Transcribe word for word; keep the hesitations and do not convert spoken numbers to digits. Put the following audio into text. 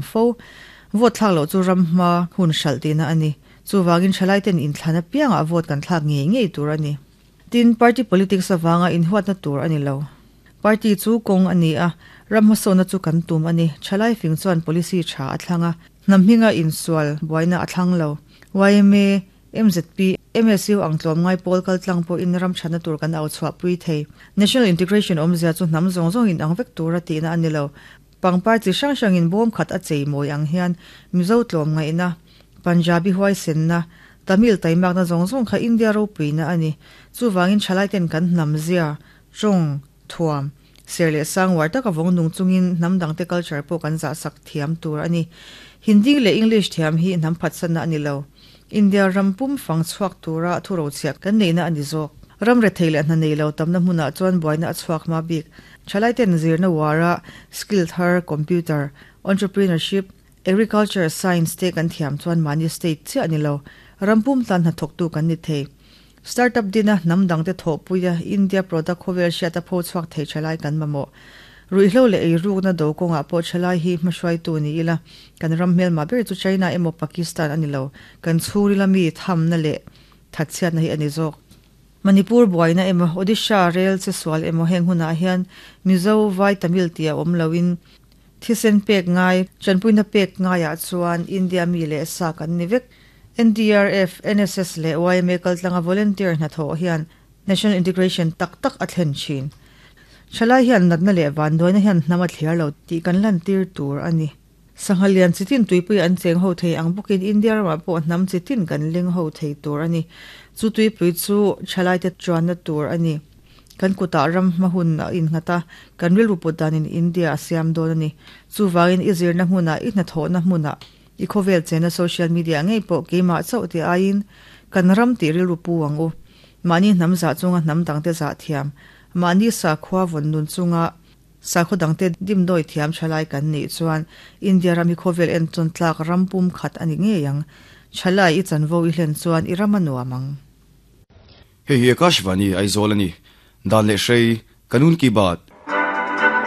Fo. Vote thlak loh chu ram hma hun hralh tihna a ni. Chuvangin thalaiten inthlan apiangah vote kan thlak ngei ngei tur a ni. Tin, party politics avanga inhuatna tur a ni lo. Party chu kawng a ni a, ram hmasawnna chu kan tum a ni. Thalai fing chuan policy tha a thlang a, hnam hminga insual buaina a thlang lo. YMA, MZP, MSU ang tlawmngai pawl kaltlang pawhin ram thatna tur kan au chhuahpui thei. National integration awmzia chu hnam zawng zawng inang vek tura tihna a ni lo. Pangpar chi hrang hrangin bawm khat a chei mawi ang hian Mizo tlawmngaihna, Punjabi huaisenna, Tamil taimakna zawng zawng kha India ropuina a ni. Chuvangin thalaiten kan hnam zia, tawng, thuam, ser leh sang uar taka vawng nung chungin hnam dangte culture pawh kan zahsak thiam tur a ni. Hindi leh English thiam hi hnam phatsanna a ni lo. India ram pum fang chhuak tura thurochhiah kan neihna a ni zawk. Ram rethei leh hna nei lo tamna hmunah chuan buaina a chhuak hma bik. Thalaiten zirna uara skill thar, computer, entrepreneurship, agriculture, science te kan thiam chuan mahni state chiah a ni lo, ram pum tan hnathawktu kan ni thei. Startup dina hnam dangte thawhpuia India product khawvel hriata pho chhuak thei thalai kan mamawh. Ruihhlo leh eirukna do kawngah pawh thalai hi hmahruaitu ni ila, kan ram hmelmah ber chu China emaw Pakistan a ni lo, kan chhungrila mi thamna leh thatchhiatna hi a ni zawk. Manipur buaina emaw Odisha rel che sual emaw heng hunah hian Mizo, Vai, Tamil tih a awm loin thisen pek ngai, tanpuina pek ngaiah chuan India mi leh sa kan ni vek. NDRF, NSS leh YMA kaltlanga volunteer hnathawh hian National Integration tak tak a thlen thin. Thalai hian natna leh vanduaina hian hnam a thliar lo tih kan lantir tur a ni. Sangha lian chitin tuipui an cheng ho thei ang bawkin India ramah pawh hnam chitin kan leng ho thei tur a ni. Chu tuipui chu thalaite chuanna tur a ni. Kan kutah ram hma hun a innghat a, kan rilru put danin India a siam dawn a ni. Chuvangin i zirna hmunah, i hnathawhna hmunah, i khawvel chena social media ngei pawh keimah chauh tih aiin kan ram tih rilru pu ang u. Mahni hnam zah chunga hnam dangte zah thiam, mahni sakhua vawn nun chunga sakhaw dangte dimdawi thiam thalai kan nih chuan India ram hi khawvel entawn tlak ram pum khat a ni ngei ang. Thalai i chanvo i hlen chuan i ram a nuam ang. Hei hi Akashvani Aizawl a ni. Dan leh hrei, Kanun ki baat.